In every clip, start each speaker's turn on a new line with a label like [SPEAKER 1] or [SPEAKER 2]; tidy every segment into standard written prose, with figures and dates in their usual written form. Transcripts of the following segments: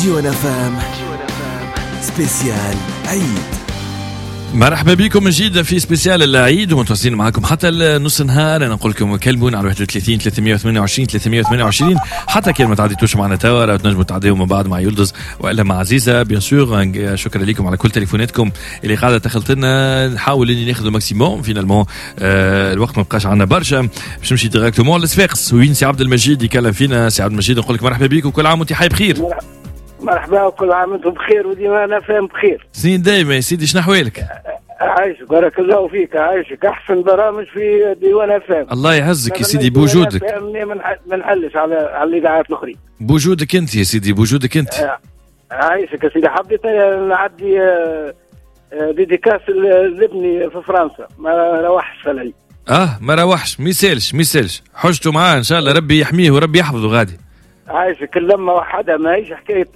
[SPEAKER 1] ديوان FM spécial عيد.
[SPEAKER 2] مرحبا بكم من جديد في spécial العيد ومتواصلين معكم حتى نص نهار. انا نقول لكم كلمونا على 31 328 328 حتى كان ما تعديتوش معنا توا راه تنجموا تعديوا من بعد مع يلدز والا مع عزيزه bien sûr. شكرا لكم على كل تليفوناتكم اللي قاعدة تخلط لنا، نحاول اني ناخذ maximum finalement. الوقت ما بقاش عندنا برشا باش نمشي directement لصفاقس وين سي عبد المجيد يكلم فينا. سي عبد المجيد نقول لك مرحبا بك وكل عام وانت حي بخير.
[SPEAKER 3] مرحبا وكل عام وانتم بخير وديما FM بخير.
[SPEAKER 2] سنين دايما يا سيدي، شنو احوالك؟
[SPEAKER 3] عايشك بارك الله فيك، عايشك احسن برامج في ديوان FM.
[SPEAKER 2] الله يعزك يا سيدي بوجودك.
[SPEAKER 3] ما نحلش على الاذاعات الاخرين.
[SPEAKER 2] بوجودك انت يا سيدي، بوجودك انت.
[SPEAKER 3] عايشك يا سيدي. حبيت نعدي dédicace لابني في فرنسا، ما روحش في العيد.
[SPEAKER 2] ما روحش، ما يسالش ما يسالش، حجته معاه ان شاء الله ربي يحميه وربي يحفظه غادي.
[SPEAKER 3] عايشك. اللمة وحدها ماهيش حكاية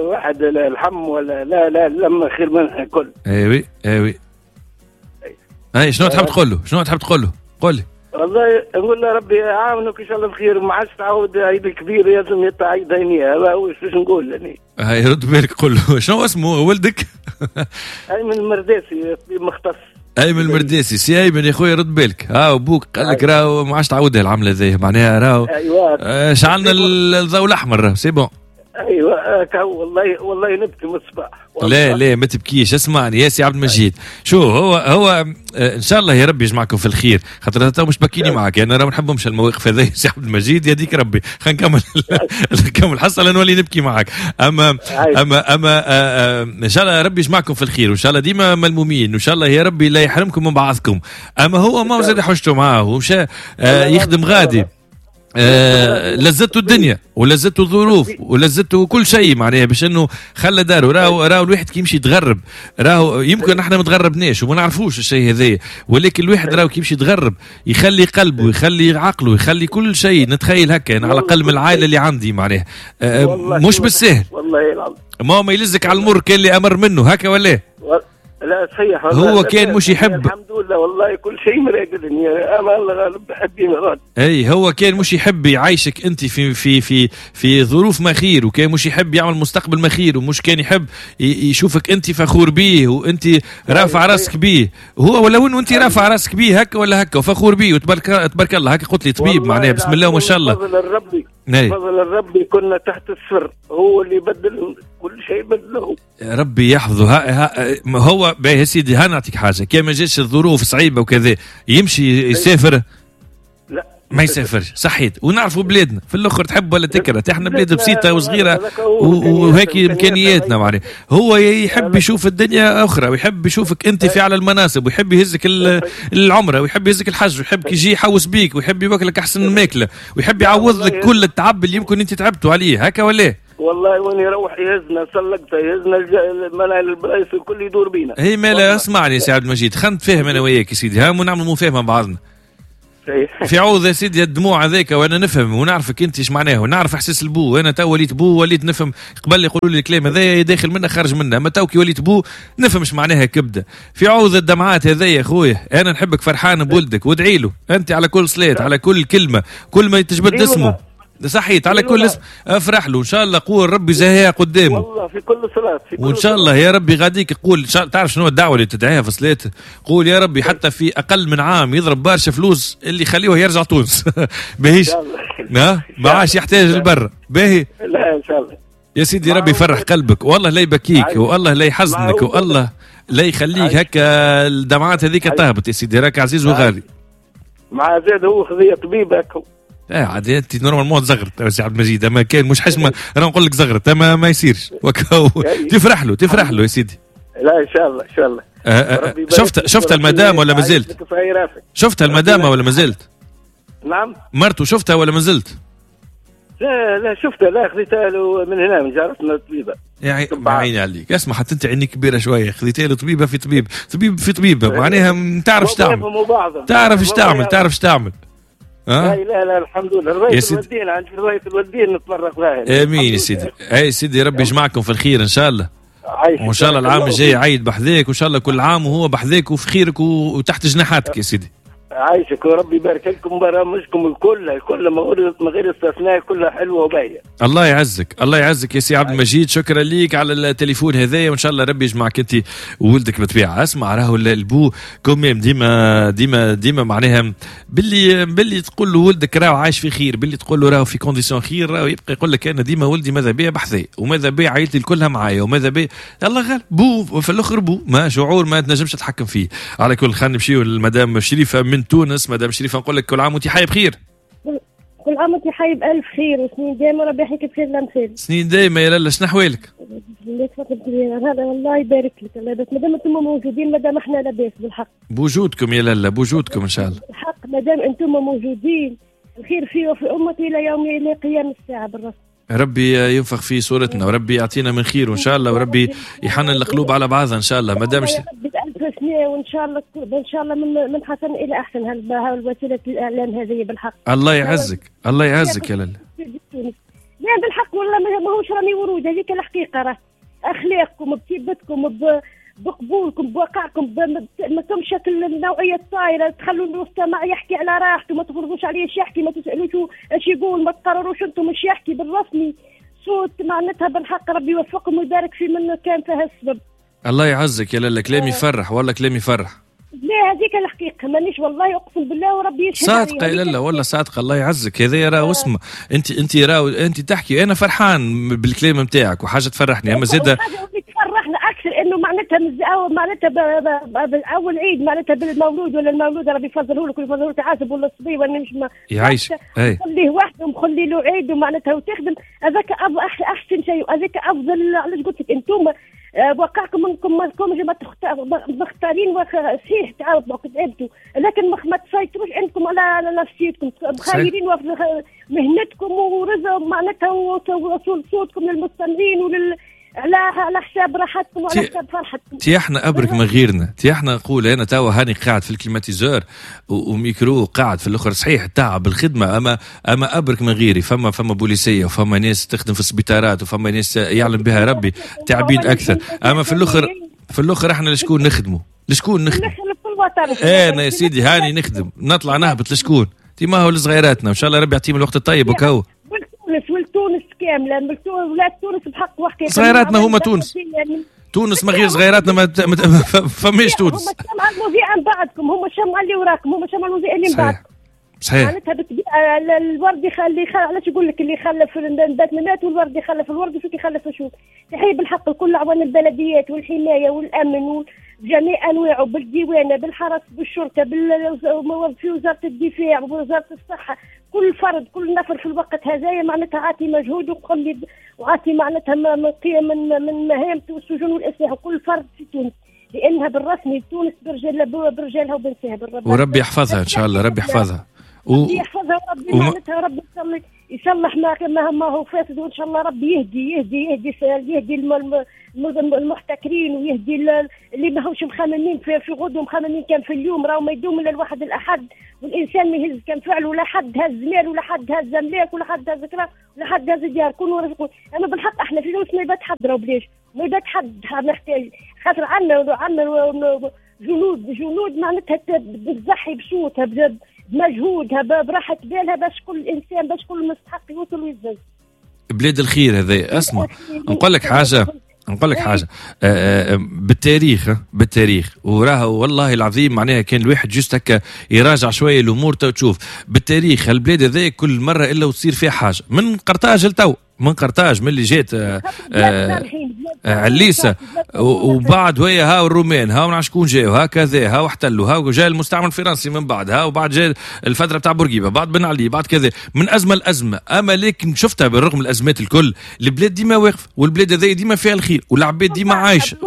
[SPEAKER 3] واحد الحم ولا لا لا، اللمة خير منها الكل.
[SPEAKER 2] ايوي ايوي. اي شنو تحب تقول له؟ شنو تحب تقول له؟ قول لي.
[SPEAKER 3] والله نقول له ربي يعاونك ان شاء الله بخير وما عادش تعاود عيد الكبير، لازم يتعيد عينيه. هذا هو باش نقول يعني.
[SPEAKER 2] هاي رد بالك قول له. شنو اسمه ولدك؟
[SPEAKER 3] ايمن المرداسي، طبيب مختص.
[SPEAKER 2] ايمن المرداسي، سي ايمن يا خويا رد بالك، ها ابوك قال لك راهو ما عادش تعاودها العملة ذي، معناها راهو
[SPEAKER 3] ايوه
[SPEAKER 2] شعلنا الضوء الاحمر c'est bon.
[SPEAKER 3] ايوه والله والله نبكي من الصباح.
[SPEAKER 2] لا لا ما تبكيش، اسمعني يا سي عبد المجيد. شو هو ان شاء الله يا ربي يجمعكم في الخير، خاطر تو مش بكيني معك انا راه ما نحبهمش المواقف هذه يا سي عبد المجيد، يديك ربي. خلينا نكمل نكمل الحصة نولي نبكي معك. اما اما اما ان شاء الله يا ربي يجمعكم في الخير، وان شاء الله ديما ملمومين، وان شاء الله يا ربي لا يحرمكم من بعضكم. اما هو ما زاد حجته معاه ومشى يخدم غادي، لذته الدنيا ولذته الظروف ولذته كل شيء، معناها باش انه خلى داره. راهو الواحد كي يمشي يتغرب، راهو يمكن احنا ما تغربناش وما نعرفوش الشيء هذايا، ولكن الواحد راهو كي يمشي يتغرب يخلي قلبه يخلي عقله يخلي كل شيء. نتخيل هكا انا على الاقل من العائلة اللي عندي معناها مش بالسهل.
[SPEAKER 3] والله
[SPEAKER 2] ما يلزك على المر كان اللي امر منه هكا ولا
[SPEAKER 3] لا؟ صحيح
[SPEAKER 2] هو كان مش يحب.
[SPEAKER 3] الحمد لله والله كل شيء مراقدني، انا الله غالب بحبي مراد.
[SPEAKER 2] اي هو كان مش يحب يعيشك انت في في في في ظروف ما خير، وكان مش يحب يعمل مستقبل ما خير، ومش كان يحب يشوفك انت فخور بيه وانت رافع راسك بيه. هو ولو انه انت رافع راسك بيه هكا ولا هكا وفخور بيه وتبارك تبارك الله هكا قلت لي طبيب معناها بسم الله وما شاء الله.
[SPEAKER 3] فضل الربي، فضل الربي كنا تحت الصفر، هو اللي بدل كل شيء بدله.
[SPEAKER 2] ربي يحفظه. ها هو باهي يا سيدي. ها نعطيك حاجة، كان ما جاتش الظروف صعيبة وكذا يمشي يسافر؟
[SPEAKER 3] لا
[SPEAKER 2] ما يسافرش. صحيت. ونعرفوا بلادنا في الاخر تحب ولا تكره، احنا بلاد بسيطة وصغيره وهيك امكانياتنا معناها. هو يحب يشوف الدنيا اخرى، ويحب يشوفك انت في على المناصب، ويحب يهزك العمرة، ويحب يهزك الحج، ويحب يجي يحوس بيك، ويحب ياكلك احسن ماكله، ويحب يعوض لك كل التعب اللي يمكن انت تعبتوا عليه هكا ولا؟
[SPEAKER 3] والله وين يروح يهزنا سلقته، يهزنا البلايص الكل يدور بينا.
[SPEAKER 2] هي مالا اسمعني يا سي عبد المجيد، خلينا نتفاهم انا وياك يا سيدي، ها ونعمل مفاهمه مع بعضنا. في عوض يا سيدي الدموع هذاك، وانا نفهم ونعرفك انت ايش معناه، ونعرف احساس البو. انا تو وليت بو وليت نفهم، قبل يقولوا لي الكلام هذايا داخل منه خارج منه، اما تو كي وليت بو نفهم ايش معناها كبده. في عوض الدمعات هذايا يا خويا، انا نحبك فرحان بولدك، وادعي له انت على كل صلاة، على كل كلمة، كل ما تجبد اسمه صحيت على كل اسم افرح له ان شاء الله. قول ربي زهيها قدامه
[SPEAKER 3] والله في كل صلاة، في كل
[SPEAKER 2] وان شاء الله يا ربي غاديك. قول تعرف شنو الدعوة اللي تدعيها في صلاة؟ قول يا ربي حتى في اقل من عام يضرب برشا فلوس اللي يخليه يرجع تونس. باهيش ما عادش يحتاج البر. باهي
[SPEAKER 3] لا ان شاء الله
[SPEAKER 2] يا سيدي ربي يفرح قلبك، والله لا يبكيك، والله لا يحزنك، والله لا يخليك هكا الدمعات هذيك تهبط يا سيدي، راك عزيز وغالي.
[SPEAKER 3] مع زاد هو خذيه طبيب هكا.
[SPEAKER 2] عاد انت normalement تزغرت يا سي عبد المجيد، اما كان مش حشمه انا نقول لك زغرت، اما ما يصيرش. تفرح له تفرح له يا سيدي.
[SPEAKER 3] لا ان شاء الله ان شاء الله.
[SPEAKER 2] شفت المدام ولا ما زلت؟ شفتها المدام ولا ما زلت؟
[SPEAKER 3] نعم.
[SPEAKER 2] مرته شفتها ولا ما زلت؟
[SPEAKER 3] لا لا شفتها، لا خذيتها له من هنا من جارتنا الطبيبة.
[SPEAKER 2] يا عيني عليك، اسمع حتى انت عيني كبيرة شوية، خذيتها له طبيبه في طبيب، طبيب في طبيبه، معناها تعرف تعمل، تعرف تعمل، تعرف تعمل.
[SPEAKER 3] لا لا لا الحمد لله. رواية الوالدين عند رواية الوالدين نتفرق لها.
[SPEAKER 2] امين يا سيدي. اي سيدي ربي يجمعكم في الخير ان شاء الله، وان شاء الله العام الجاي عيد بحذاك، وان شاء الله كل عام وهو بحذاك وفي خيرك وتحت جناحاتك يا سيدي.
[SPEAKER 3] عايشك وربي يبارك لكم، برامجكم الكل من غير استثناء كلها حلوة وباهيه.
[SPEAKER 2] الله يعزك، الله يعزك يا سي عبد المجيد، شكرا ليك على التليفون هذايا، وان شاء الله ربي يجمعك انت وولدك بالطبيعة. اسمع، راهو البو quand même ديما ديما ديما معناها باللي تقول له ولدك راهو عايش في خير، باللي تقول له راهو في conditions خير، راهو يبقى يقول لك انا ديما ولدي ماذا بيا بحذي، وماذا بيا عائلتي كلها معايا، وماذا بيا. الله غالب، بو في الاخر بو ما شعور ما تنجمش تتحكم فيه. على كل خلينا نمشيو للمدام شريفه من تونس. مدام شريفه نقول لك كل عام وانت حي بخير.
[SPEAKER 4] كل عام وانت حي بألف خير وسنين دايما، ربي يحييك بخير الأمثال.
[SPEAKER 2] سنين دايما يا لاله، شنو احوالك؟
[SPEAKER 4] هذا الله يبارك لك، الله يبارك، مادام انتم موجودين مادام احنا لاباس بالحق.
[SPEAKER 2] بوجودكم يا لاله، بوجودكم ان شاء الله.
[SPEAKER 4] بالحق مادام انتم موجودين الخير في وفي امتي الى يوم الى قيام الساعة بالرسم.
[SPEAKER 2] ربي ينفخ في صورتنا وربي يعطينا من خير وان شاء الله، وربي يحنن القلوب على بعضها ان شاء الله. مادام
[SPEAKER 4] ألف سنة وان شاء الله ان شاء الله من حسن الى احسن هالوسيله الاعلام هذه بالحق.
[SPEAKER 2] الله يعزك، الله يعزك يا لاله.
[SPEAKER 4] لا بالحق والله ماهوش رامي ورود، هذيك الحقيقة، راه اخلاقكم بطيبتكم بقبولكم بوقعكم، ما تمشى النوعية الطايره، تخلوا المستمع يحكي على راحته، ما تفرضوش عليه اش يحكي، ما تسالوش اش يقول، ما تقرروش انتم اش يحكي بالرسمي. صوت معناتها بالحق ربي يوفقكم ويبارك في من كان فيها السبب.
[SPEAKER 2] الله يعزك يا لاله، كلامي يفرح والله، كلامي يفرح.
[SPEAKER 4] لا هذيك الحقيقة مانيش والله اقسم بالله وربي يشهد.
[SPEAKER 2] صادقة يا لاله والله صادقة، الله يعزك. هذا راه اسمه انت راهو انت تحكي، انا فرحان بالكلام نتاعك وحاجه تفرحني، اما زاده
[SPEAKER 4] تفرحنا اكثر انه معناتها معناتها باول عيد معناتها بالمولود ولا المولود ربي يفضله لك ويفضله لك عازب ولا الصبي ولا مش
[SPEAKER 2] يعيشك،
[SPEAKER 4] خليه وحده ومخلي له عيد ومعناتها وتخدم، هذاك احسن شيء وهذاك افضل. علاش قلت لك انتم وقعكم انكم مختارين صحيح تعاودوا تعبتوا، لكن ما تسيطروش عندكم على نفسيتكم، مخيرين مهنتكم ورزق معناتها ووصول صوتكم للمستمعين ولل على حساب راحتكم وعلى حساب فرحتكم.
[SPEAKER 2] تي احنا ابرك من غيرنا، تي احنا نقول انا توا هاني قاعد في ال climatiseur و micro قاعد في الاخر، صحيح تعب الخدمة، اما ابرك من غيري. فما بوليسيه وفما ناس تخدم في السبيطارات وفما ناس يعلم بها ربي تعبين اكثر، اما في الاخر احنا لشكون نخدموا؟ لشكون نخدم؟ انا يا سيدي هاني نخدم، نطلع نهبط لشكون؟ تي ما هو لصغيراتنا، وان شاء الله ربي يعطيهم الوقت الطيب وكهو.
[SPEAKER 4] ولتونس كاملة، ولاد تونس بحق وحقيقة.
[SPEAKER 2] صغيراتنا هما تونس، تونس ما غير صغيراتنا ما فماش تونس.
[SPEAKER 4] هما الشمعة المذيعه من بعدكم، هما الشمعة اللي وراكم، هما الشمعة المذيعه اللي من بعدكم.
[SPEAKER 2] صحيح.
[SPEAKER 4] معناتها بالطبيعة الورد اللي علاش يقول لك اللي خلف النبات مات والورد يخلف الورد وشو يخلف شو. تحية بالحق لكل اعوان البلديات والحماية والامن وجميع انواعه، بالديوانه، بالحرس، بالشرطة، في وزارة الدفاع ووزارة الصحة، كل فرد كل نفر في الوقت هذايا معناتها عاطي مجهود وقلب وعاطي معناتها من قيم من مهامته والسجون والاسلحة، وكل فرد في تونس، لانها بالرسمي تونس برجالها وبنساها بالرب.
[SPEAKER 2] وربي يحفظها ان شاء الله، ربي يحفظها
[SPEAKER 4] ربي يحفظها وربي معناتها ربي يصلح ما هو فاسد، وان شاء الله ربي يهدي يهدي يهدي يهدي المحتكرين ويهدي اللي ما هوش مخممين في غدوه، مخممين كان في اليوم، راهو ما يدوم الا الواحد الاحد، والانسان ما يهز كان فعله، ولا حد هز مال ولا حد هز املاك ولا حد هز كرا ولا حد هز ديار. كونوا رزقوا. اما بالحق احنا في تونس ما يبات حد، راهو بلاش ما يبات حد محتاج، خاطر عندنا جنود معناتها تضحي بصوتها بمجهودها براحة بالها باش كل إنسان باش كل مستحق يوصل ويتزوج.
[SPEAKER 2] بلاد الخير هذا. اسمع نقول لك حاجة، نقول لك حاجة بالتاريخ، بالتاريخ وراها والله العظيم معناها كان الواحد juste هكا يراجع شوية الأمور تشوف بالتاريخ البلاد هذا كل مرة إلا وتصير فيها حاجة، من قرطاج لتو، من قرطاج من اللي جات عليسة وبعد وهي ها الرومان ها ونعرف شكون جاو هكذا ها واحتلوا ها جاء المستعمر الفرنسي من بعد ها وبعد جاء الفترة بتاع بورقيبة بعد بن علي بعد كذا من أزمة لأزمة. أما لكن شفتها بالرغم من الأزمات الكل البلاد ديما واقف والبلاد هذه ديما فيها الخير والعباد ديما عايشة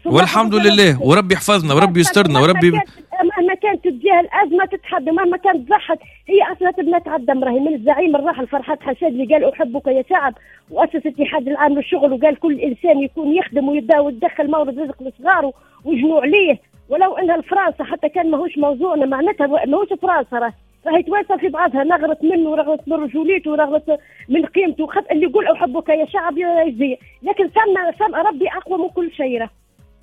[SPEAKER 2] والحمد لله وربي يحفظنا وربي يسترنا وربي
[SPEAKER 4] مهما كانت تجاه الأزمة تتحدى مهما كانت ضحت هي أصلا تبنى تعدم راهي من الزعيم الراحل فرحات حشاد اللي قال أحبك يا شعب وأسس الاتحاد العام للشغل وقال كل إنسان يكون يخدم ويبدا ويدخل مورد رزق لصغاره ويجنوا عليه ولو أنها الفرنسا حتى كان ماهوش موضوعنا معناتها ماهوش فرنسا راهي تواسى في بعضها نغرت منه ورغت من رجوليته ورغت من قيمته اللي يقول أحبك يا شعب يا يجزي لكن سمع ربي أقوى من كل شيء.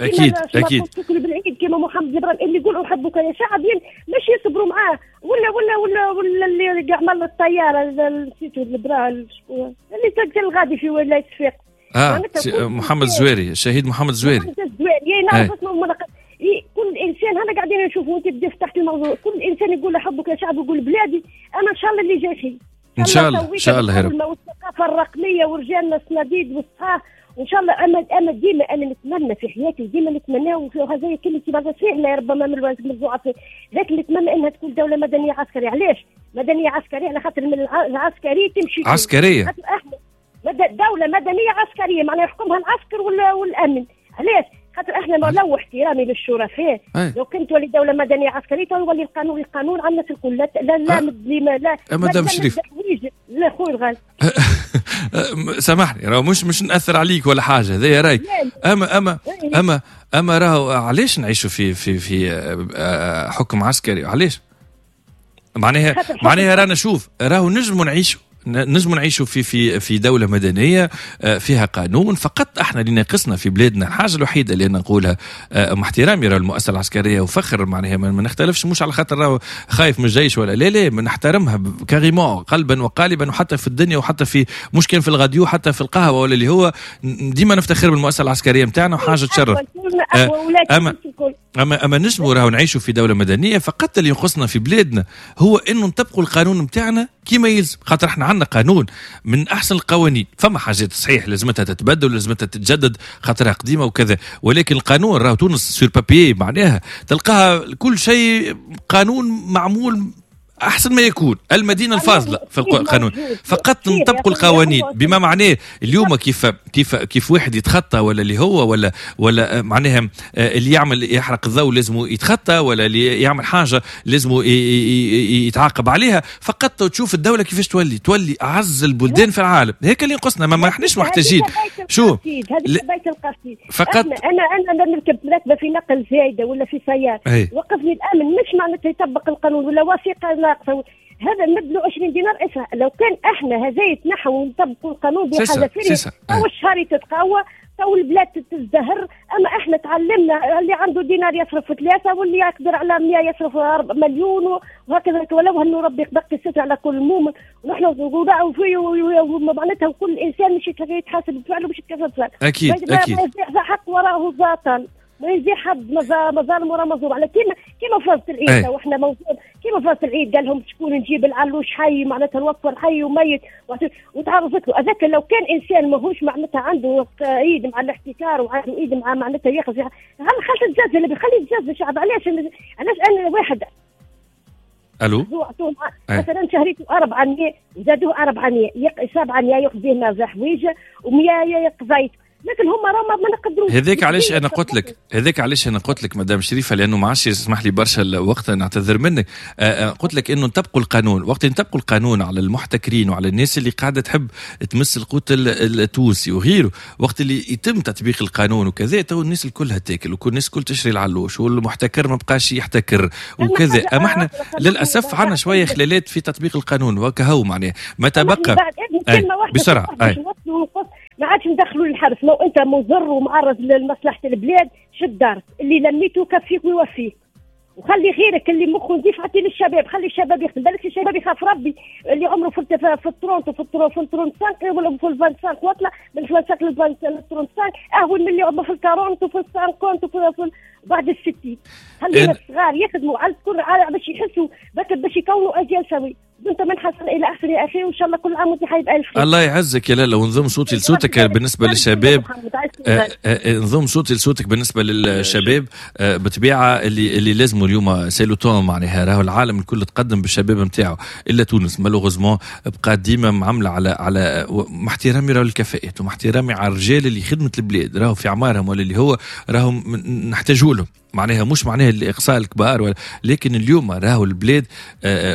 [SPEAKER 2] اكيد اكيد.
[SPEAKER 4] شكري بالعيد كما محمد جبران اللي يقول احبك يا شعب، مش يصبروا معاه ولا ولا ولا ولا اللي عمل الطيارة نسيتو اللي تقتل غادي في ولاية صفاقس.
[SPEAKER 2] محمد الزواري، الشهيد محمد الزواري.
[SPEAKER 4] محمد الزواري نعرف اسمه. كل انسان هنا قاعدين نشوفوا، انت بدي فتحت الموضوع، كل انسان يقول احبك يا شعب ويقول بلادي. انا ان شاء الله اللي جاي خير
[SPEAKER 2] ان شاء الله، ان شاء الله يا رب.
[SPEAKER 4] والثقافة الرقمية ورجالنا الصناديد والصحاح وان شاء الله. انا ديما انا نتمنى في حياتي وديما نتمناه، وهذا كلمتي بعد صحيح لا ربما من الضعف، لكن نتمنى انها تكون دولة مدنية عسكرية. علاش مدنية عسكرية؟ على خاطر من العسكري تمشي
[SPEAKER 2] عسكرية.
[SPEAKER 4] دولة مدنية عسكرية معناها يحكمها العسكر والامن. علاش؟ خاطر احنا ما لو احترامي للشرفاء، لو كنت تولي دولة مدنية عسكرية تولي القانون على الناس الكل. لا لا لا لا
[SPEAKER 2] لا مدام شريف،
[SPEAKER 4] لا خويا الغالي
[SPEAKER 2] سامحني، راه مش ناثر عليك ولا حاجة، هذا رايك. اما اما اما اما راهو علاش نعيشوا في في في حكم عسكري؟ علاش؟ معناها رانا شوف، راهو نجموا نعيشوا، نجم نعيشوا في في في دولة مدنية فيها قانون. فقط احنا اللي ناقصنا في بلادنا الحاجة الوحيدة اللي نقولها مع احترامي راه المؤسسة العسكرية وفخر، معناها ما نختلفش، مش على خاطر راه خايف من الجيش ولا لا، لا نحترمها carrément قلبا وقالبا، وحتى في الدنيا وحتى في مش كان في الغاديو، حتى في القهوة ولا اللي هو ديما نفتخر بالمؤسسة العسكرية نتاعنا وحاجة تشرف. اما اما اما نجموا راهو نعيشوا في دولة مدنية. فقط اللي ينقصنا في بلادنا هو انه نطبقوا القانون نتاعنا كما يلزم، خاطر احنا عندنا قانون من احسن القوانين. فما حاجات صحيح لازمتها تتبدل ولازمتها تتجدد خاطرها قديمة وكذا، ولكن القانون راهو تونس sur papier معناها تلقاها كل شيء قانون معمول احسن ما يكون، المدينة الفاضلة في القانون. فقط نطبقوا القوانين بما معناه اليوم كيف كيف كيف واحد يتخطى ولا اللي هو ولا معناها اللي يعمل يحرق الضوء لازم يتخطى، ولا اللي يعمل حاجة لازم يتعاقب عليها. فقط تشوف الدولة كيفاش تولي اعز البلدان في العالم. هيك اللي ينقصنا، ما احناش محتاجين. شو
[SPEAKER 4] هذه بيت القصيد. فقط انا نركب راكبه في نقل زايدة ولا في سيارة، وقفني الامن، مش معناتها يطبق القانون ولا وثيقة ناقصه، هذا نبدلو 20 دينار. اسمع، لو كان احنا هذا يتنحوا ونطبقوا القانون بحذافيره تو الشهر تتقوى، تو البلاد تزدهر. اما احنا تعلمنا اللي عنده دينار يصرف 3، واللي يقدر على 100 يصرف 4 مليون وهكذا. ولو انه ربي يبقي الستر على كل مؤمن، ونحن نقولوا معناتها كل انسان مش يتحاسب بفعله، مش يتكافئ بفعله.
[SPEAKER 2] اكيد اكيد
[SPEAKER 4] حق وراه باطل، ما يجي حد مظالم ورا مظلوم. على كيما فازت العيد، واحنا موجود كيما فازت العيد قال لهم شكون نجيب العلوش حي، معناتها نوفر حي وميت وتعرضت له. هذاك لو كان انسان ماهوش معناتها عنده ايد مع الاحتكار وعنده ايد مع معناتها ياخذ، هل خلت الجزء اللي بيخلي الجزء الشعب. علاش انا واحد
[SPEAKER 2] الو
[SPEAKER 4] مثلا شهريته 400 زادوه 400 700 ياخذ به حويجه و100 قضيت، لكن هما راه ما نقدروش.
[SPEAKER 2] هذاك علاش انا قلت لك، هذاك علاش انا قلت لك مدام شريفه، لانه ما عادش يسمح لي برشا الوقت، نعتذر منك. قلت لك انه نطبقوا القانون، وقت نطبقوا القانون على المحتكرين وعلى الناس اللي قاعدة تحب تمس القوت التونسي وغيره، وقت اللي يتم تطبيق القانون وكذا، تو الناس الكلها تاكل وكل الناس الكل تشري العلوش، والمحتكر ما بقاش يحتكر وكذا. اما احنا للاسف عندنا شوية خلالات في تطبيق القانون وكهو، معناه ما تبقى بسرعة
[SPEAKER 4] ما عادش ندخلوا للحبس. لو انت مضر ومعرض لمصلحة البلاد شد دارك، اللي لميته كفيك ويوفيك، وخلي غيرك اللي مخه نظيف عطية للشباب، خلي الشباب يخدم. بالك الشباب يخاف ربي، اللي عمره في ال trente وفي 35 ولا في 25 وطلع من 25 لل 35 اهون من اللي عمره في 40 وفي 50 وفي بعد 60. خلينا الصغار يخدموا على كل باش يحسوا باش يكونوا اجيال سويه. انت من حسن الى احسن يا اخي، وان شاء الله كل عام وانت حي بالف خير.
[SPEAKER 2] الله يعزك يا لاله. ونضم صوتي لصوتك بالنسبة للشباب، نضم صوتي لصوتك بالنسبة للشباب. بطبيعة اللي لازمه اليوم c'est le temps، معناها راهو العالم الكل تقدم بالشباب نتاعو الا تونس malheureusement بقى ديما معاملة على مع احترامي راهو الكفاءات ومع احترامي على الرجال اللي خدمة البلاد راهو في اعمارهم ولا اللي هو راهو نحتاجوا لهم، معناها مش معناها الاقصاء الكبار ولا، لكن اليوم راهو البلاد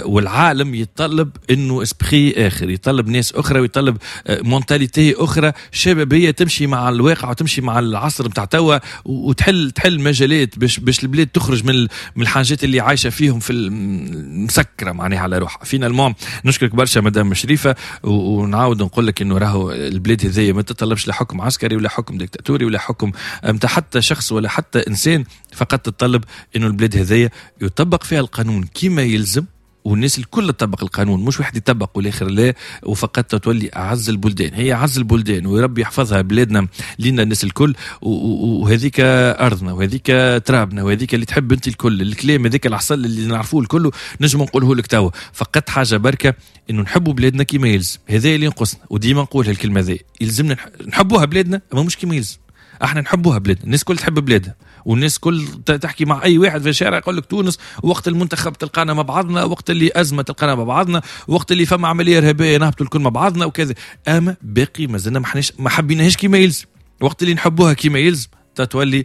[SPEAKER 2] والعالم يتطلب انه esprit اخر، يطلب ناس اخرى، ويطلب mentalité اخرى شبابية تمشي مع الواقع. وتمشي مع العصر نتاع توا، وتحل مجالات باش البلاد تخرج من الحاجات اللي عايشه فيهم في المسكره معناها على روحها. finalement نشكرك برشا مدام شريفه، ونعاود نقول لك انه راهو البلاد هذيا ما تطلبش لا حكم عسكري ولا حكم ديكتاتوري ولا حكم نتاع حتى شخص ولا حتى انسان، فقط تطلب انه البلاد هذيا يطبق فيها القانون كما يلزم، والناس الكل تطبق القانون، مش واحد يطبق والاخر لا، وفقط تولي اعز البلدان. هي اعز البلدان وربي يحفظها بلادنا لينا الناس الكل، وهذيك ارضنا وهذيك ترابنا وهذيك اللي تحب انت الكل. الكلام هذيك العسل اللي نعرفوه الكل نجم نقوله لك توا، فقط حاجة بركة انه نحبوا بلادنا كما يلزم، هذا اللي ينقصنا، وديما نقول هالكلمة ذي، يلزمنا نحبوها بلادنا اما مش كما يلزم. احنا نحبوها بلادنا، الناس كل تحب بلادها، والناس كل تحكي مع اي واحد في الشارع يقول لك تونس، وقت المنتخب تلقانا مع بعضنا، وقت اللي ازمة تلقانا مع بعضنا، وقت اللي فما عملية ارهابية نهبطوا الكل مع بعضنا وكذا. اما باقي مازلنا ما حبيناهاش كيما يلزم. وقت اللي نحبوها كيما يلزم تولي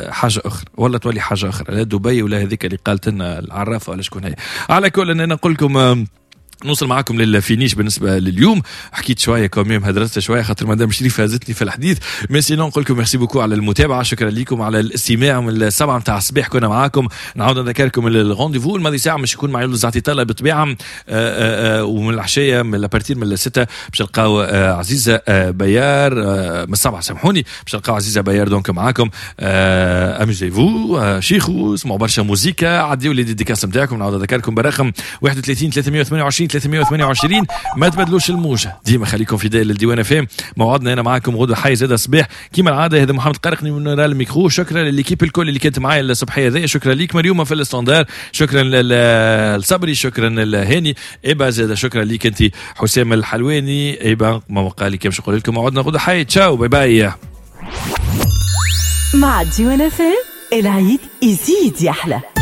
[SPEAKER 2] حاجة اخرى، ولا تولي حاجة اخرى، لا دبي ولا هذيك اللي قالت لنا العرافه ولا شكون هي. على كل انا نقول لكم نوصل معاكم لل finish بالنسبة لليوم. حكيت شوية quand même، هدرست شوية خاطر مدام شريفه هزتني في الحديث. mais sinon نقول لكم merci beaucoup على المتابعة، شكرا لكم على الاستماع. من 7 نتاع الصباح كنا معاكم. نعاود نذكركم ال rendez-vous الماضي ساعة مش يكون مع يولد زعتي طالب بالطبيعة، ومن العشية من à partir من 6 باش تلقاو عزيزه بيار، من 7 سامحوني باش تلقاو عزيزه بيار donc معاكم. amusez-vous، شيخو، اسمعوا برشا موزيكا، عديوا les dédicaces نتاعكم. نعاود نذكركم برقم 31 328 328. ما تبدلوش الموجة، ديما خليكم fidèles للديوان FM. موعدنا هنا معاكم غدوة حي زاد الصباح كيما العادة. هذا محمد قرقني من وراء الميكرو. شكرا لل équipe الكل اللي كانت معايا الصبحية هذه، شكرا ليك مريومة في ال standard، شكرا للصبري، شكرا لهاني إبا زاد، شكرا ليك انت حسام الحلواني. إبا ما وقع لي كيفاش نقول لكم، موعدنا غدوة حي. تشاو bye bye.
[SPEAKER 5] مع ديوان FM العيد يزيد يحلى.